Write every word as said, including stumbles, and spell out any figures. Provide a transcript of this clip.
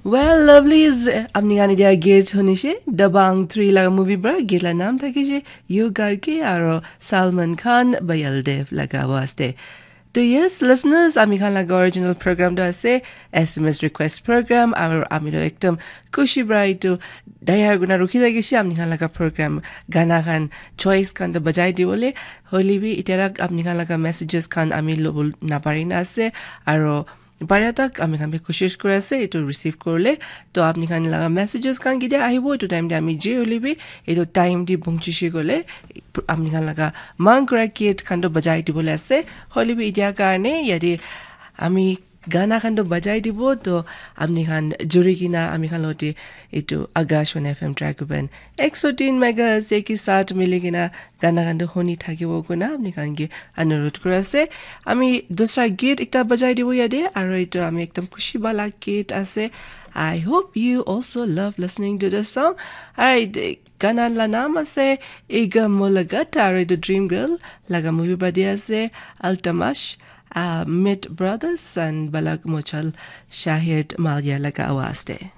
Well, lovelies, apni khan etia gate hunishe, Dabangg three laga movie para gate la naam thakishe Yo Ghar Ke aro Salman Khan, Payal Dev laga awaaz te. To yes, listeners, ami khan laga original program to ase S M S request program, aro ami to ekdom khushi para etu tayar kurina rukhi thakishe ami khan laga program gana khan choice khan to bajai dibole. Hoile bi etia tak apni khan laga messages khan ami lobo napari na ase, aro paria tak ami khan bi koshish kuri ase etu receive kuribole. To apni khan laga messages khan ketia ahibo, etu time te ami je hoile bi etu time te pahunchishi koile apni khan laga mang kura gate khan to bajai dibole ase. Hoile bi etia karne yate ami gana khan to bajai dibo, to apni khan juri kena ami khan logote etu Akashvani F M Dragoban ek so tin megahertz ke saath mili kena gana khan to huni thakibo koina apni khan ke anurudh kuri ase. Ami dusra gate ekta bajai dibo yate, aro etu ami ekdom khushi wala gate ase. I hope you also love listening to the song. Alright, gana la naam ase Ega Mulagata, aro etu Dream Girl laga movie para di ase Altamash, uh, Mit Brothers and Balak Mochal Shahid Malia laga awaaz te.